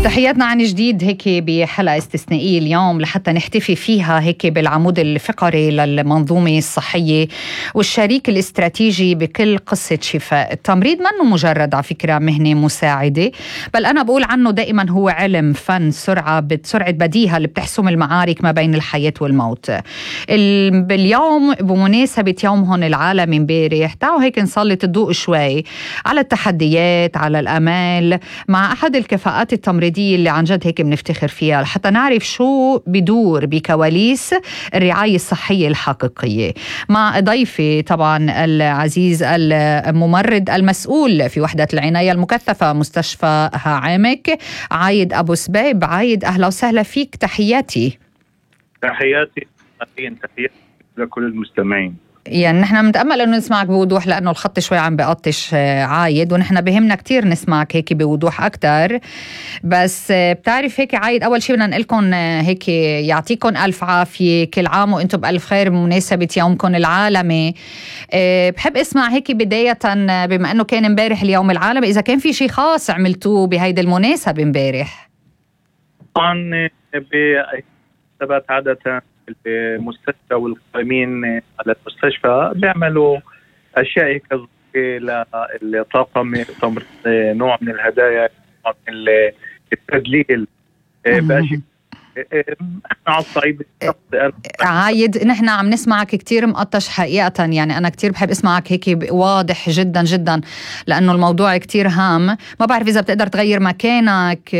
تحياتنا عن جديد هيك بحلقة استثنائية اليوم لحتى نحتفي فيها هيك بالعمود الفقري للمنظومة الصحية والشريك الاستراتيجي بكل قصة شفاء. التمريض منه مجرد على فكرة مهنة مساعدة، بل أنا بقول عنه دائما هو علم، فن، سرعة بديهة اللي بتحسم المعارك ما بين الحياة والموت. باليوم بمناسبة يومهم العالمي امبارح تعالوا هيك نسلط الضوء شوي على التحديات، على الأمال، مع أحد الكفاءات التمريضية اللي عن جد هيك بنفتخر فيها لحتى نعرف شو بدور بكواليس الرعاية الصحية الحقيقية. مع ضيفي طبعا العزيز الممرض المسؤول في وحدة العناية المكثفة مستشفى هاعمك، عايد أبو سبيب. عايد أهلا وسهلا فيك، تحياتي. تحياتي لكل المستمعين. يعني نحن متأمل أنه نسمعك بوضوح لأنه الخط شوي عم بقطش عايد، ونحن بهمنا كتير نسمعك هيك بوضوح أكتر. بس بتعرف هيك عايد، أول شيء بدنا نقلكم هيك يعطيكم ألف عافية، كل عام وإنتم بألف خير بمناسبة يومكم العالمي. بحب أسمع هيك بداية بما أنه كان امبارح اليوم العالمي، إذا كان في شيء خاص عملتوه بهيدا المناسبة امبارح. طبعا بثبات عادة المستشفى والقائمين على المستشفى بيعملوا أشياء هيك للطاقم التمريض، نوع من الهدايا، نوع من التدليل بأشياء. احنا على الصعيد عايد نحن عم نسمعك كتير مقطش حقيقة، يعني أنا كتير بحب اسمعك هيك واضح جدا جدا لأنه الموضوع كتير هام. ما بعرف إذا بتقدر تغير مكانك،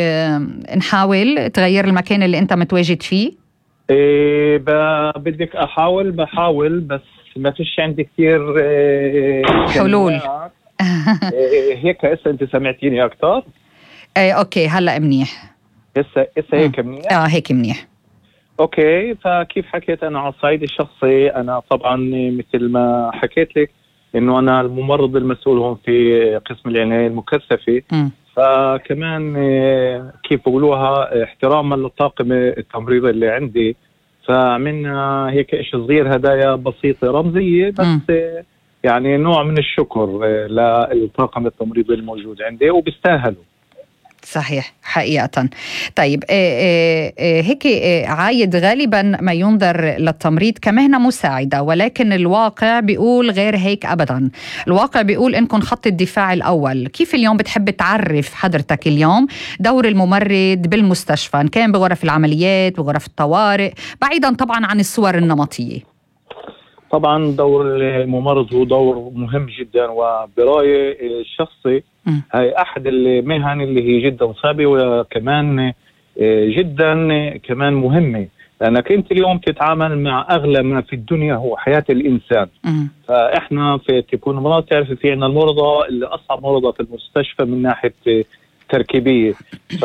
نحاول تغير المكان اللي أنت متواجد فيه. بدك بحاول بس ما فيش عندي كثير حلول. هيك هسه انت سمعتيني اكثر؟ اوكي هلا منيح. هسه هيك منيح؟ هيك منيح. اوكي، فكيف حكيت انا على الصعيد الشخصي، انا طبعا مثل ما حكيت لك انه انا الممرض المسؤول هون في قسم العناية المكثفة. فكمان كيف بقولوها احتراما للطاقم التمريضي اللي عندي، فعملنا هيك إشي صغير، هدايا بسيطة رمزية بس يعني نوع من الشكر للطاقم التمريضي الموجود عندي وبيستاهلوا. صحيح حقيقة. طيب هيك عايد، غالبا ما ينظر للتمريض كمهنة مساعدة، ولكن الواقع بيقول غير هيك أبدا. الواقع بيقول إنكم خط الدفاع الأول. كيف اليوم بتحب تعرف حضرتك اليوم دور الممرض بالمستشفى، إن كان بغرف العمليات، بغرف الطوارئ، بعيدا طبعا عن الصور النمطية؟ طبعا دور الممرض هو دور مهم جدا، وبرأيي الشخصي هاي أحد المهن اللي هي جدا صعبة وكمان جدا كمان مهمة، لأنك أنت اليوم تتعامل مع أغلى ما في الدنيا هو حياة الإنسان. فإحنا في تكون مرضى، تعرف في عنا المرضى اللي أصعب مرضى في المستشفى من ناحية تركيبية، ف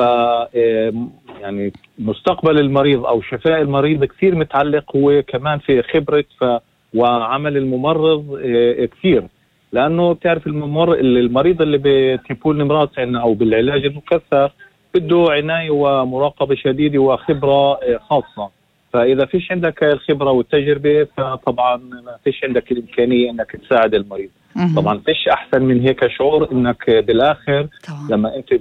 يعني مستقبل المريض أو شفاء المريض كثير متعلق هو كمان في خبرة وعمل الممرض كثير، لأنه بتعرف المريض اللي بتيبول نمرات عنا أو بالعلاج المكثف بده عناية ومراقبة شديدة وخبرة خاصة. فإذا فيش عندك الخبرة والتجربة فطبعا ما فيش عندك الإمكانية أنك تساعد المريض. طبعا فيش أحسن من هيك شعور أنك بالآخر لما أنت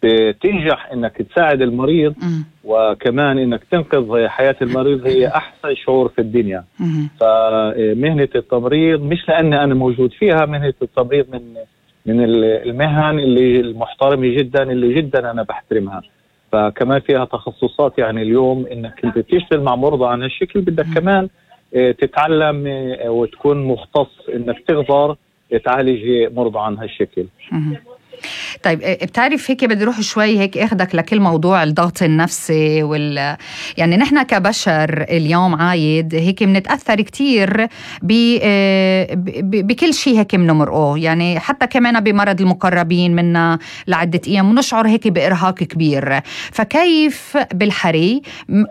بتنجح أنك تساعد المريض وكمان أنك تنقذ حياة المريض، هي أحسن شعور في الدنيا. فمهنة التمريض مش لأني أنا موجود فيها، مهنة التمريض من المهن اللي المحترمة جدا اللي جدا أنا بحترمها. فكمان فيها تخصصات، يعني اليوم أنك أنت تشتغل مع مرضى عن هالشكل بدك كمان تتعلم وتكون مختص أنك تقدر تعالج مرضى عن هالشكل. طيب بتعرف هيك بدي روح شوي هيك اخدك لكل موضوع الضغط النفسي يعني نحن كبشر اليوم عايد هيك بنتأثر كتير بكل شيء هيك بنمرقه، يعني حتى كمان بمرض المقربين منا لعدة أيام ونشعر هيك بإرهاق كبير. فكيف بالحري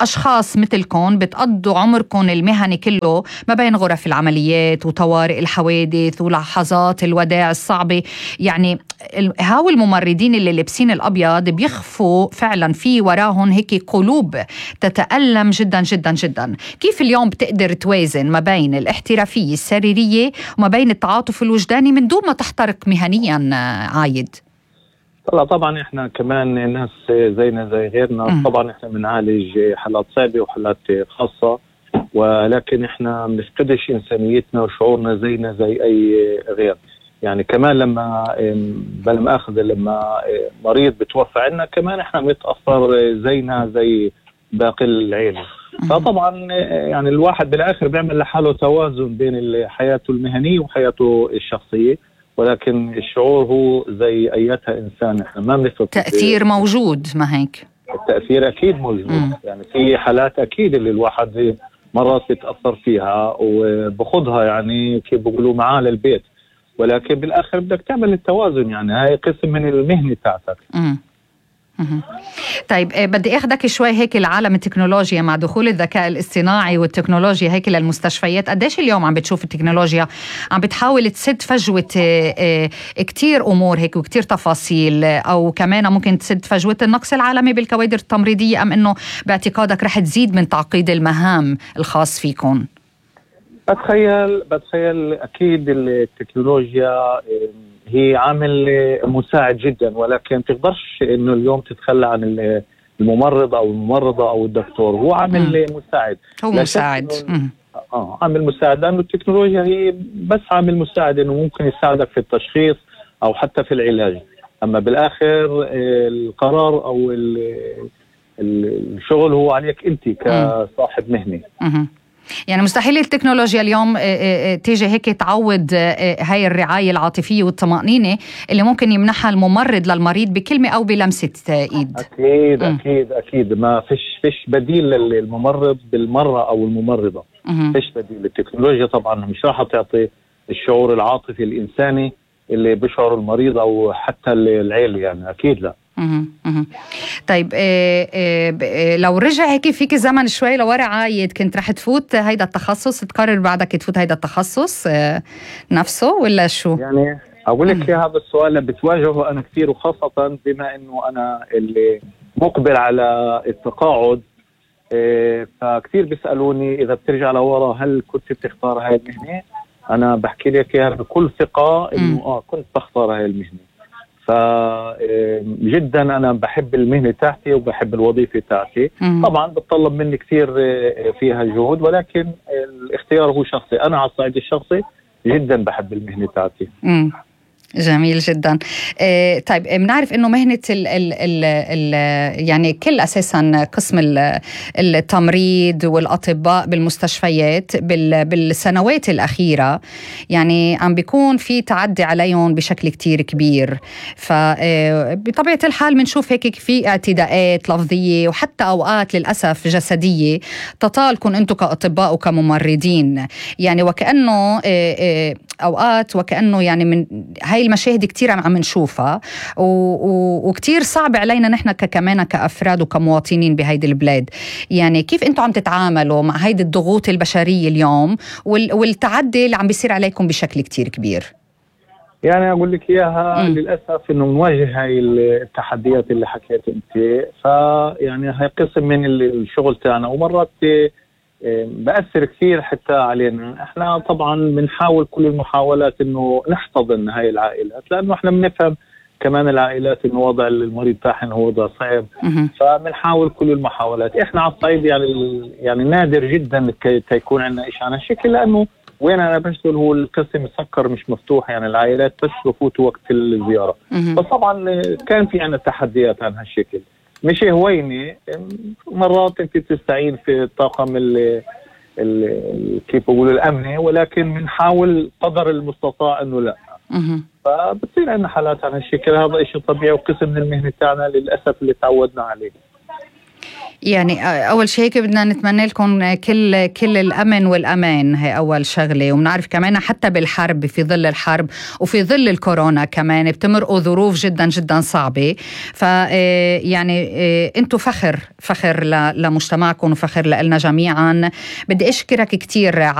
أشخاص مثلكم بتقضوا عمركم المهني كله ما بين غرف العمليات وطوارئ الحوادث ولحظات الوداع الصعبة، يعني هاو الممرضين اللي لابسين الأبيض بيخفوا فعلا في وراهم هيك قلوب تتألم جدا جدا جدا. كيف اليوم بتقدر توازن ما بين الاحترافية السريرية وما بين التعاطف الوجداني من دون ما تحترق مهنيا عايد؟ هلا طبعا احنا كمان ناس زينا زي غيرنا. طبعا احنا بنعالج حالات صعبة وحالات خاصة، ولكن احنا ما بنفقدش انسانيتنا وشعورنا زينا زي اي غير. يعني كمان لما بلا مؤاخذة لما مريض بتوفى عنا كمان احنا بنتأثر زينا زي باقي العيلة. فطبعا يعني الواحد بالاخر بيعمل لحاله توازن بين حياته المهنية وحياته الشخصية، ولكن الشعور هو زي ايتها انسان. احنا ما بنفقد تأثير موجود، ما هيك؟ التأثير اكيد موجود. يعني في حالات اكيد اللي الواحد مرات بيتأثر فيها وبخضها، يعني كيف بيقولوا معاه للبيت، ولكن بالاخر بدك تعمل التوازن. يعني هاي قسم من المهنة تاعتك. طيب بدي اخذك شوي هيك لعالم التكنولوجيا مع دخول الذكاء الاصطناعي والتكنولوجيا هيك للمستشفيات. قديش اليوم عم بتشوف التكنولوجيا عم بتحاول تسد فجوة كتير امور هيك وكتير تفاصيل، او كمان ممكن تسد فجوة النقص العالمي بالكوادر التمريضية، ام انه باعتقادك رح تزيد من تعقيد المهام الخاص فيكم؟ بتخيل اكيد التكنولوجيا هي عامل مساعد جدا، ولكن تقدرش انه اليوم تتخلى عن الممرض او الممرضة او الدكتور. هو عامل مساعد. هو مساعد. عامل مساعد، لانه التكنولوجيا هي بس عامل مساعد انه ممكن يساعدك في التشخيص او حتى في العلاج، اما بالاخر القرار او الشغل هو عليك انت كصاحب مهنة. يعني مستحيل التكنولوجيا اليوم تيجي هيك تعوض هاي الرعاية العاطفية والطمأنينة اللي ممكن يمنحها الممرض للمريض بكلمة أو بلمسة إيد. أكيد ما فيش بديل للممرض بالمرة أو الممرضة. فيش بديل. التكنولوجيا طبعا مش راح تعطي الشعور العاطفي الإنساني اللي بيشعر المريض أو حتى العيلة، يعني أكيد لا. طيب لو رجع هيك فيك زمن شوي لورا عايد، كنت رح تفوت هيدا التخصص، تقرر بعدك تفوت هيدا التخصص نفسه ولا شو؟ يعني أقول لك هذا السؤال اللي بتواجهه أنا كثير، وخاصة بما إنه أنا اللي مقبل على التقاعد، فكثير بيسألوني إذا بترجع لورا هل كنت بتختار هاي المهنة؟ أنا بحكي لك إياها بكل ثقة إنه كنت بختار هاي المهنة. فجدا أنا بحب المهنة تاعتي وبحب الوظيفة تاعتي. طبعا بتطلب مني كثير فيها جهود، ولكن الاختيار هو شخصي. أنا على الصعيد الشخصي جدا بحب المهنة تاعتي. جميل جدا. طيب بنعرف انه مهنة يعني كل اساسا قسم التمريض والاطباء بالمستشفيات بالسنوات الاخيرة يعني عم بيكون في تعدي عليهم بشكل كتير كبير. فبطبيعة الحال بنشوف هيك في اعتداءات لفظية وحتى اوقات للاسف جسدية تطالكم انتم كاطباء وكممرضين، يعني وكأنه اوقات وكأنه يعني من هاي المشاهد كتير عم نشوفها وكتير صعب علينا نحن كمان كأفراد وكمواطنين بهيدي البلاد. يعني كيف انتم عم تتعاملوا مع هيدي الضغوط البشرية اليوم والتعدي اللي عم بيصير عليكم بشكل كتير كبير؟ يعني أقول لك إياها للأسف إنه نواجه هاي التحديات اللي حكيت أنت. فيعني هاي قسم من الشغل تاعنا، ومرات بأثر كثير حتى علينا. احنا طبعا بنحاول كل المحاولات انه نحتضن هاي العائلات، لانه احنا بنفهم كمان العائلات انه وضع المريض تاعهم هو وضع صعب. فبنحاول كل المحاولات. احنا على الصعيد يعني نادر جدا يكون عندنا شيء عن هالشكل، لانه وين انا بشتغل هو القسم مسكر مش مفتوح، يعني العائلات بس بفوتوا وقت الزيارة. فطبعا كان في عندنا تحديات عن هالشكل، مش هويني. مرات انت تستعين في الطاقم كيف بقول الامني، ولكن بنحاول قدر المستطاع انه لا. فبتصير عندنا حالات عن هالشكل. هذا شيء طبيعي وقسم من المهنه تاعنا للاسف اللي تعودنا عليه. يعني أول شيء هيك بدنا نتمنى لكم كل الأمن والأمان، هي أول شغلة. وبنعرف كمان حتى بالحرب، في ظل الحرب وفي ظل الكورونا كمان بتمرقوا ظروف جدا جدا صعبة. يعني أنتوا فخر لمجتمعكم وفخر لنا جميعا. بدي أشكرك كتير